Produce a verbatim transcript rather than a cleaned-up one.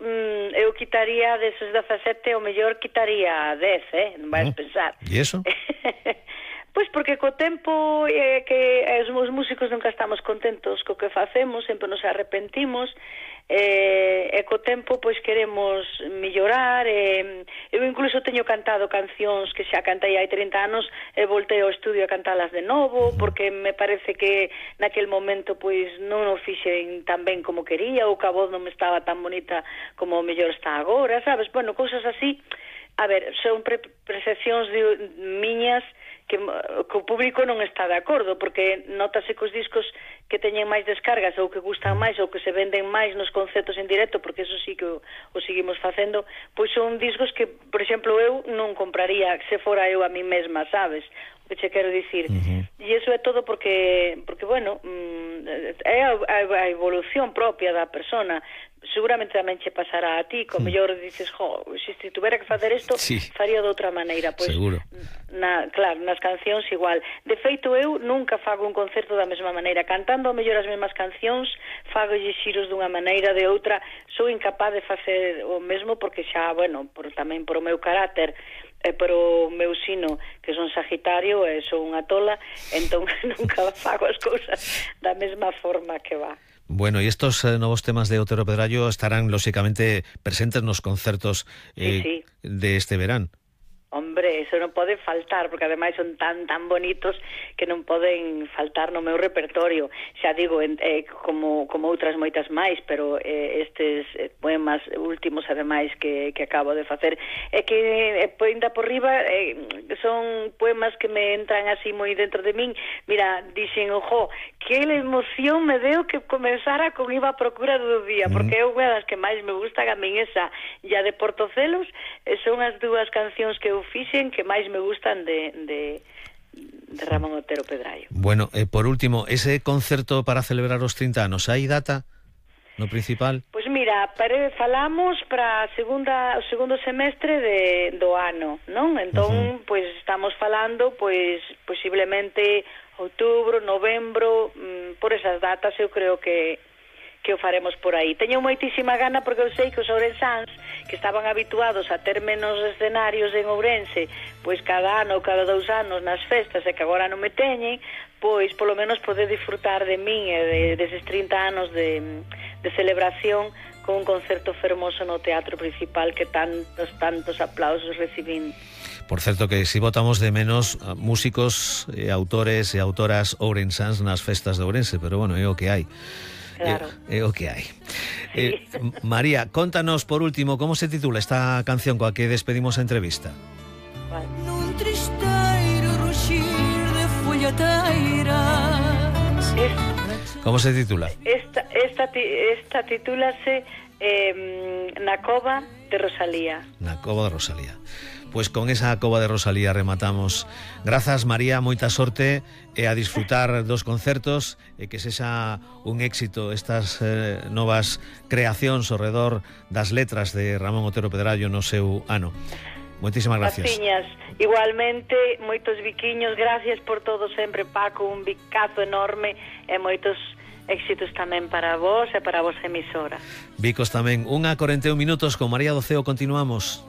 Mm, eu quitaría deses dezasete, o mellor quitaría dez, eh? Non vais Oh, pensar. E iso? Pois porque co tempo eh, que os músicos nunca estamos contentos co que facemos, sempre nos arrepentimos, eh, e co tempo pois queremos mellorar. eh, eu incluso teño cantado cancións que xa cantei hai trinta anos e voltei ao estudio a cantalas de novo, porque me parece que naquel momento pois non o fixen tan ben como quería, ou que a voz non me estaba tan bonita como o mellor está agora, sabes? Bueno, cousas así. A ver, son pre percepcións de miñas que, que o público non está de acordo, porque notase que os discos que teñen máis descargas ou que gustan máis ou que se venden máis nos concertos en directo, porque eso sí que o, o seguimos facendo, pois son discos que, por exemplo, eu non compraría se fora eu a mí mesma, sabes? O que che quero dicir. Uh-huh. E iso é todo porque, porque bueno, é a, a evolución propia da persona. Seguramente tamén che pasará a ti, como mellor dices, jo, se si tuvera que facer isto, sí, faría de outra maneira. Pois, seguro. Na, claro, nas cancións igual. De feito, eu nunca fago un concerto da mesma maneira. Cantando ao mellor as mesmas cancións, fago xiros dunha maneira, de outra. Sou incapaz de facer o mesmo porque xa, bueno, por, tamén por o meu carácter e por o meu sino, que son Sagitario e son unha tola, entón nunca fago as cousas da mesma forma que va. Bueno, y estos eh, nuevos temas de Otero Pedrayo estarán lógicamente presentes en los concertos eh, sí, sí. de este verán. Hombre, eso non pode faltar, porque ademais son tan tan bonitos que non poden faltar no meu repertorio. Xa digo, eh, como, como outras moitas máis, pero eh, estes poemas últimos ademais que, que acabo de facer, é que eh, poinda por riba eh, son poemas que me entran así moi dentro de min. Mira, dixen, ojo, que emoción me deu que comenzara con Iba a procura do día, porque é unha das que máis me gustan a min, esa e a de Portocelos, eh, son as dúas cancións que eu fixen que máis me gustan de, de, de Ramón Otero Pedrayo. Bueno, eh, por último, ese concerto para celebrar os trinta anos, hai data no principal? Pois pues mira, pare, falamos para a segunda, o segundo semestre de, do ano, non? Entón, uh-huh. pois pues, estamos falando, pois pues, posiblemente outubro, novembro, mmm, por esas datas eu creo que que o faremos por aí. Teño moitísima gana porque eu sei que os ourensáns que estaban habituados a ter menos escenarios en Ourense, pois cada ano ou cada dous anos nas festas, e que agora non me teñen, pois polo menos poder disfrutar de min e de, deses trinta anos de, de celebración con un concerto fermoso no Teatro Principal que tantos, tantos aplausos recibín. Por certo que si votamos de menos músicos, e autores e autoras ourensáns nas festas de Ourense, pero bueno, é o que hai. Claro. É, é o que hai. Sí. Eh, María, contanos por último como se titula esta canción coa que despedimos a entrevista. Vale. Nun tristeiro ruxir de follateiras. Como se titula? Esta, esta, esta titúlase eh, Na cova de Rosalía. Na cova de Rosalía. Pois pues con esa cova de Rosalía rematamos. Grazas, María, moita sorte e a disfrutar dos concertos e que sexa un éxito estas eh, novas creacións ao redor das letras de Ramón Otero Pedrayo no seu ano. Moitísimas gracias. Graciñas. Igualmente, moitos biquiños, gracias por todo sempre, Paco, un bicazo enorme e moitos éxitos tamén para vos e para a vosa emisora. Bicos tamén. Unha corenta e un minutos con María do Ceo, continuamos.